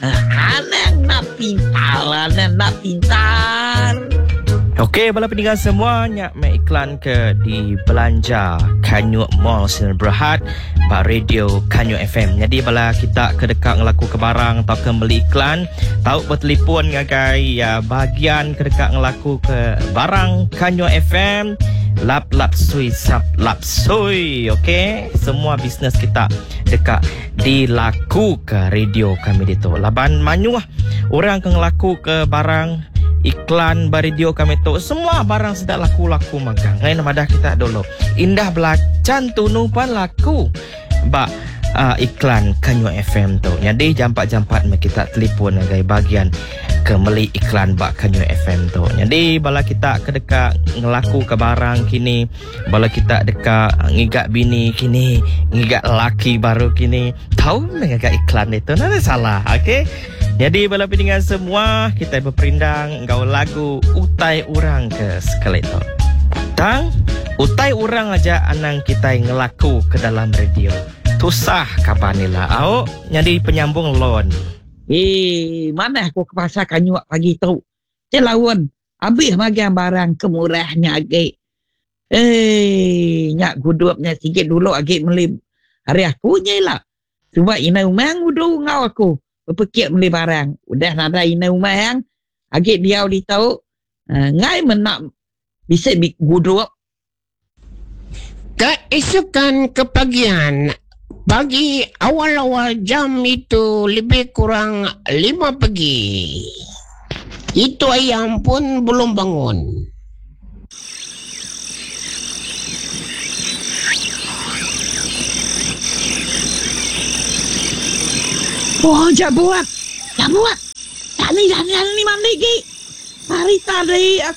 Anang enda pintar, anang enda pintar. Okey bala peninga semua nya meh iklan ke dibelanja Kanyuk Mall Sdn Berhad ba radio Kanyuk FM. Nyadi bala kita ke deka ngelaku ke barang tauka meli iklan tau betelefon ngagai uh, bahagian ke deka ngelaku ke barang Kanyuk FM lap lap sui sap lap sui. Okey, semua bisnes kita deka dilakuka radio kami ditu laban mayuh orang ke ngelakuka barang iklan ba radio kami tu semua barang sida laku-laku magang. Ngai madah kita dulu. Indah belacan tunu pan laku ba uh, iklan Kanyu FM tu. Jadi jampat-jampat meh kita telefon ngagai bagian ke meli iklan ba Kanyu FM tu. Jadi bala kita ke deka ngelakuka barang kini Bala kita deka ngiga bini kini, ngiga laki baru kini. Tau meh ngaga iklan ditu nadai salah. Okey. Nyadi bala peninga semua, kitai beperindang enggau lagu Utai Orang ke sekali tu. Tang, utai orang aja anang kitai ngelaku ke dalam radio. Tusah kaban ila au nyadi penyambung lon. Hee, manah ku ke pasar kanyuk pagi tu. Ti laun, abih magang barang ke murah nya agi. Eii nya gudup nya sigi dulu agi meli ari aku nya ila. Suba indai umang udu enggau aku bepekit meli barang. Udah nadai indai umang agi diau ditu enggai meh enda bisi gudup. Keesokan kepagian, pagi awal-awal jam itu lebih kurang lima pagi. Itu ayam pun belum bangun. Oh jabut, jabut. Tak ni dah ni mandi gi. Hari tadi aku.